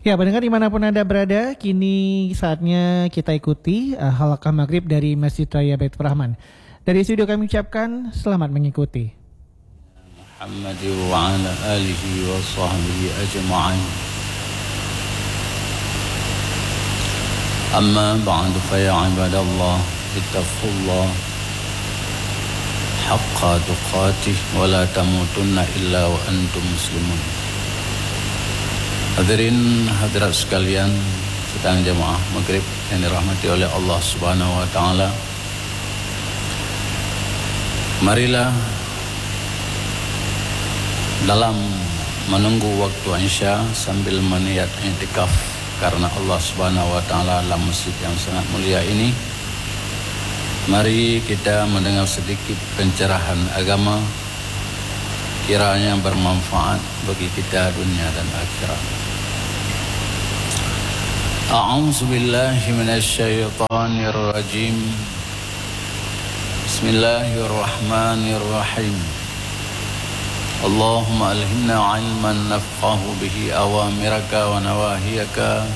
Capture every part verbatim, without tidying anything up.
Ya, pendengar dimanapun Anda berada, kini saatnya kita ikuti uh, halaqah maghrib dari Masjid Raya Baitur Rahman. Dari studio kami ucapkan selamat mengikuti. Muhammad wa ala alihi wa sahbihi ajma'in. Amma ba'du, fa ya ibadallah, ittaqullah haqqa tuqatih wa la tamutunna illa wa antum muslimun. Hadirin hadirat sekalian, sidang jamaah maghrib yang dirahmati oleh Allah Subhanahu wa taala. Marilah dalam menunggu waktu Isya sambil meniat iktikaf karena Allah Subhanahu wa taala dalam masjid yang sangat mulia ini, mari kita mendengar sedikit pencerahan agama, kiranya bermanfaat bagi kita dunia dan akhirat. A'udzubillahi minasyaitonirrajim. Bismillahirrahmanirrahim. Allahumma alhimna ilman nafqahu bihi awamiraka wa nawahiyaka,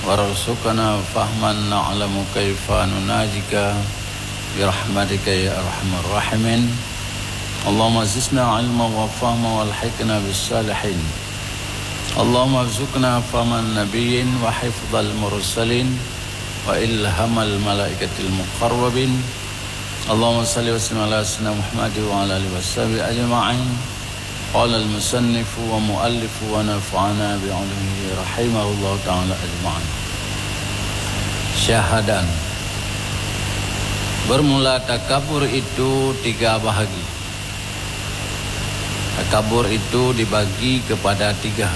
warzuqna fahman na'lamu kaifa nunajika birahmatika ya arhamar rahimin. Allahumma zidna ilman wa fahma walhiqna bis salihin. Allahumma rzuqna fahman nabiyyin wa hifdzal mursalin wa ilhamal malaikatil muqarrabin. Allahumma shalli wa sallim ala sayyidina Muhammad wa ala alihi wa sahbihi ajma'in. Qala al-musannifu wa muallifu wa nafa'ana bi ulumihi rahimahullahu ta'ala ajma'in. Syahadan. Bermula takabur itu tiga bahagi. Takabur itu dibagi kepada tiga.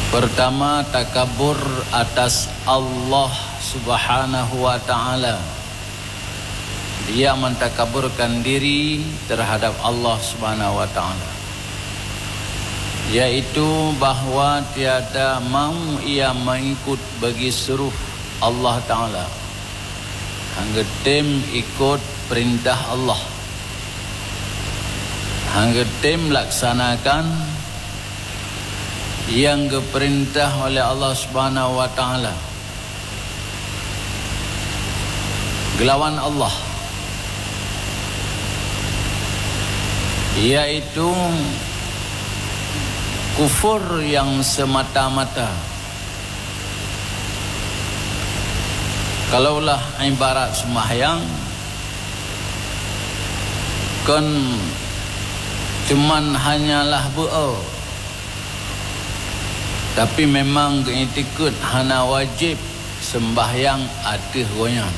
Pertama, takabur atas Allah Subhanahu wa taala. Dia mentakaburkan diri terhadap Allah Subhanahu wa taala, yaitu bahwa tiada mau ia mengikut bagi suruh Allah Taala. Hana geutem ikot peurintah Allah. Hana geutem laksanakan nyang geupeurintah oleh Allah Subhanahu wa Taala. Geulawan Allah, yaitu kufur nyang semata-mata. Kalaulah ibarat seumahyang, kon cuman hanyalah beu-o, tapi memang geuitikeuet hana wajéb seumbahyang ateueh gobnyan.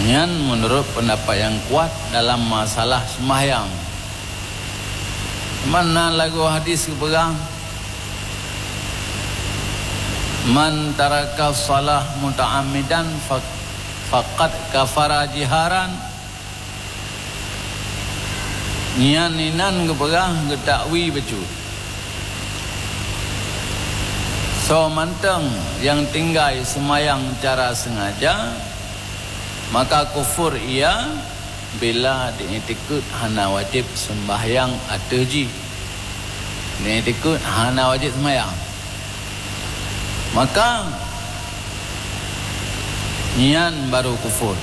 Nyan meunurot peundapat nyang kuat dalam masalah seumbahyang. Mana lagoe hadis geupeugah, "Man taraka shalah muta'ammidan fa-, faqad kafara jiharan." Nyan inan geupeugah geutakwi bacut. Soe mantong nyang tinggai seumayang cara seungaja, maka kufur ia bila diitikeuet hana wajéb seumbahyang ateueh jih. Diitikeuet hana wajéb seumayang, maka nyan barô kufur.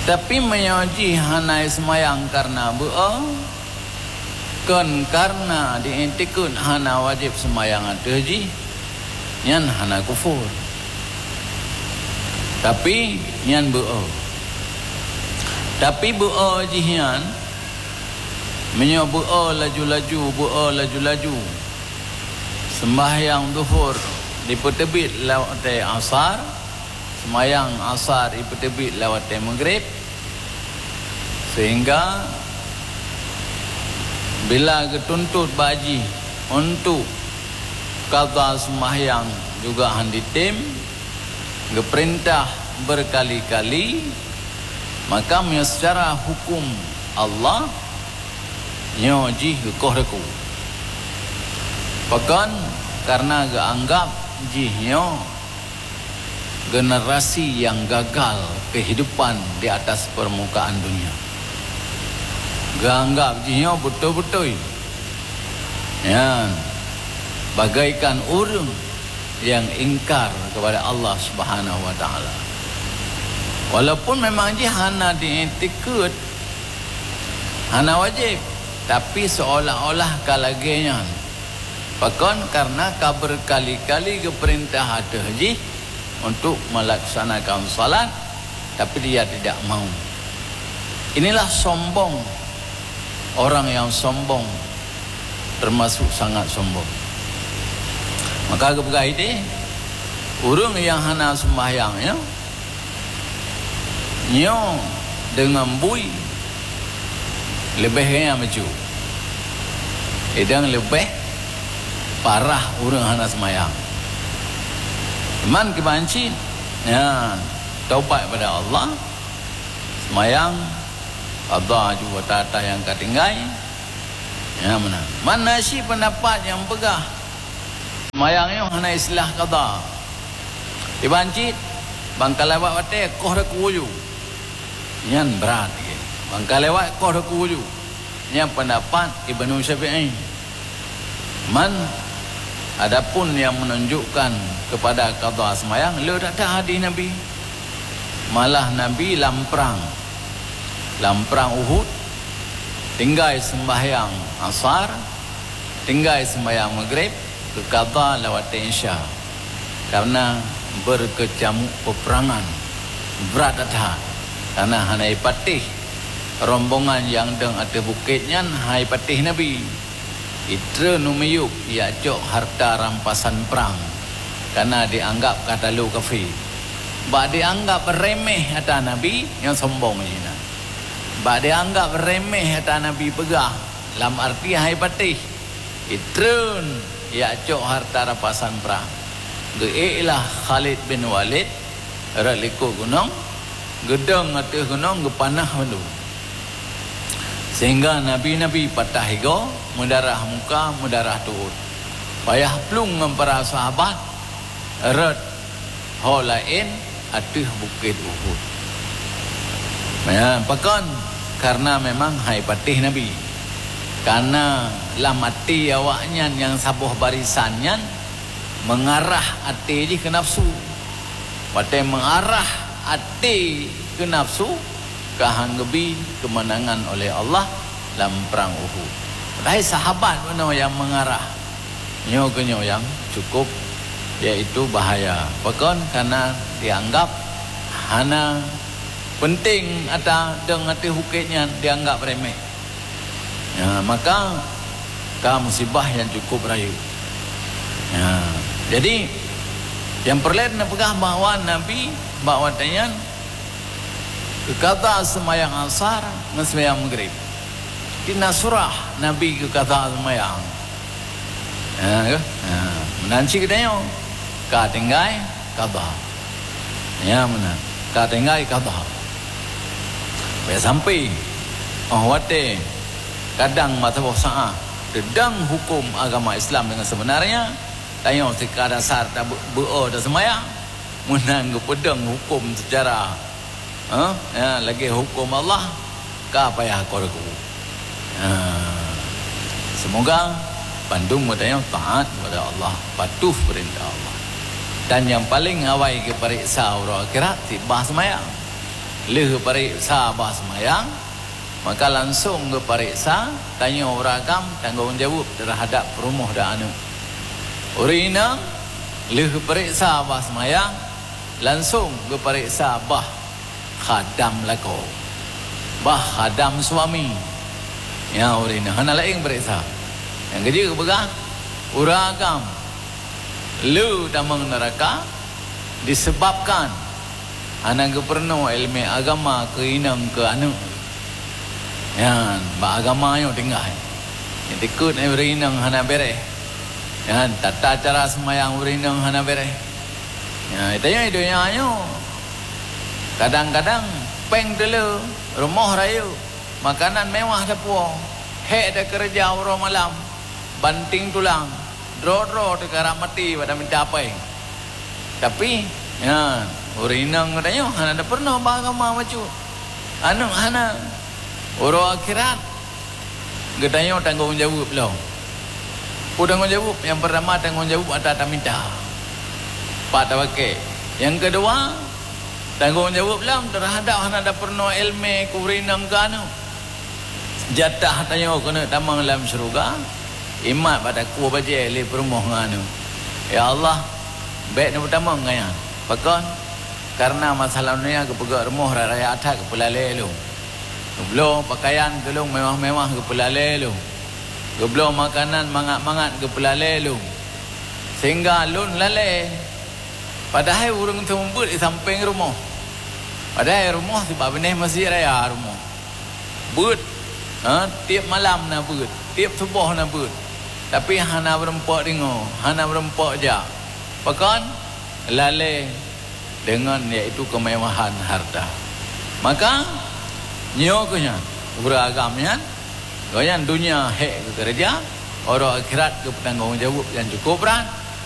Tapi meunyoe jih hana seumayang kareuna beu-o, kon kareuna diitikeuet hana wajéb seumayang ateueh jih, nyan hana kufur. Tapi nyan beu-o. Tapi beu-o jih nyan, meunyoe beu-o laju-laju, beu-o laju-laju, seumbahyang Zuhur dipeuteubiet lam watée Asar, seumayang Asar jipeuteubiet lam watée Maghrib, sehingga bila geutuntot bak jih untuk qadha seumayang juga hana jitem, geupeurintah beurkali-kali, maka meunyoe seucara huköm Allah, nyoe jih geukoh reku. Pakon? Kareuna geuanggab jih nyoe generasi nyang gagal keuhidupan di atas peurmukaan dunia. Geuanggap jih nyoe beutôi-beutôi. Nyan, bagaikan ureuëng nyang ingkar kepada Allah Subhanahu wa Taala. Walaupun memang jih hana diiktikeuet, hana wajéb, tapi seolah-olah ka lagée nyan. Pakon? Karena ka berkali-kali geupeurintah ateueh jih untuk melaksanakan salat, tapi dia tidak mau. Inilah sombong orang yang sombong, termasuk sangat sombong. Maka geupeugah idéh, ureuëng nyang hana seumbahyang nyoe, nyoe deungon bui leubeh gaya meucue. Idang leubeh parah ureuëng hana seumbahyang. Iman kiban cit, ya, taubat pada Allah, seumbahyang, qadha aju ata-ata nyang ka tinggai. Ya, meunan. Man na cit peundapat nyang peugah seumbahyang nyoe hana istilah qadha. Iban cit, ban ka lewat watée koh teuku ju. Nyan brat lagée. Ban ka lewat koh teuku ju. Nyan peundapat Ibnu Syafi'i. Man, adapun nyang meununjukkan keupada qadha seumbahyang, le that-that hadih Nabi. Malah Nabi lam prang, lam prang Uhud, tinggai seumbahyang asar, tinggai seumbahyang maghrib, geuqadha lewat watée isya. Karena berkecamuk peperangan, brat that-that. Karena hana ipatéh rombongan nyang dong ateueh bukét nyan, hana ipatéh Nabi. Itreun u miyueb jak cok harta rampasan prang, karena dianggap ka talo kafé. Bak dianggap remeh ata Nabi, nyan sombong jih nyan. Bak dianggap remeh ata Nabi peugah, lam arti hana ipatéh, itreun jak cok harta rampasan prang. Geuék lah Khalid bin Walid rot likot gunong, geudong ateueh gunong geupanah mandum. Sehingga nabi-nabi patah igoe, meudarah muka, meudarah tuot. Payah plueng ngon para sahabat rot ho laén ateueh bukét Uhud. Ya, pakon? Karena memang hana ipatéh Nabi. Karena lam até awaknyan nyang saboh barisan nyan meungarah até jih keu nafsu. Watée meungarah até keu nafsu, ka han geubi keumeunangan oleh Allah lam prang Uhud. Padahai sahabat bunoe nyang meungarah. Nyoe keuh nyoe nyang cukup, yaitu bahaya. Pakon? Karena dianggap hana penting ata dong ateueh bukét nyan, dianggap remeh. Ya, maka ka musibah nyang cukup rayeuk. Ya, jadi, nyang peureulée neupeugah bahwa Nabi bak watée nyan geuqadha seumayang asar ngon seumayang maghrib. Di na surah Nabi geuqadha seumayang. Ya, ke? Ya, meunan cit geutanyoe ka tinggai qadha. Ya, meunan. Ka tinggai qadha. Bèk sampai, oh, watèe kadang masa boh saát teudong huköm agama Islam deungon seubeunarnya, tanyoe sika dasar tabeu-, beu-o taseumayang, meunan geupeudong huköm seucara, ha, ya, lagèe huköm Allah, ka payah keu geutanyoe. Ha. Semoga bandum geutanyoe taat kepada Allah, patuh peurintah Allah. Dan nyang paleng awai geupareksa uroe akhirat, cit bah seumayang. Lheueh geupareksa bah seumayang, maka langsong geupareksa tanyoe ureueng agam tanggong jaweueb teuhadap peurumoh dan aneuk. Ureueng inong lheueh geupareksa bah seumayang, langsong geupareksa bah khadam lakoe, bah khadam suami. Nyan ureueng inong hana laén pareksa. Nyang keujeuet geupeugah, ureueng agam le tamong neuraka disebabkan hana geupeurunoe ileumèe agama keu inong keu aneuk. Nyan, bak agama nyoe tinggai. Nyang dikeue ureueng inong hana bèrèh. Nyan, tata cara seumayang ureueng inong hana bèrèh. Nyan, tanyoe donya nyoe kadang-kadang pèng teuleu, rumoh rayeuk, makanan mewah tapuwoe, hèk takeureuja uroe malam, banting tulang, droe-droe teukarap maté bak taminta pèng. Tapi, nyan, ureueng inong geutanyoe hana tapeurunoe bak agama bacut. Aneuk hana. Uroe akhirat, Geutanyoe tanggong jaweueb lom. Peue tanggong jaweueb? Nyang peurtama, tanggong jaweueb atra tamita. Pat tapaké. Nyang keudua, tanggong jaweueb lom teuhadap hana tapeurunoe iéleumé keu ureuëng inong keu aneuëk. Jatah tanyoe keuneuk tamong lam syeuruga, imat bak takue bajée lé peurumoh ngon aneuëk. Ya Allah, bék neupeutamong ngon nyan. Pakon? Kareuna masalah donya geupeugét rumoh raya-raya that geupeulalée lom. Geubloe pakaian keu lôn mewah-mewah geupeulalée lôn. Geubloe makanan mangat-mangat geupeulalée lôn. Sehingga lôn lalée. Padahai ureuëng seumeubeuet di sampéng rumoh. Padahai rumoh sibak binéh masjid raya rumoh. Beuet, ha, tieb malam na beuet, tieb suboh na beuet. Tapi hana meurumpok deungoe, hana meurumpok jak. Pakon? Lalée deungon yaitu keumewahan harta. Maka, nyoe keuh nyan, ureuëng agam nyan, gobnyan donya hék geukeureuja, uroe akhirat geupeutanggong jaweueb nyang cukup brat.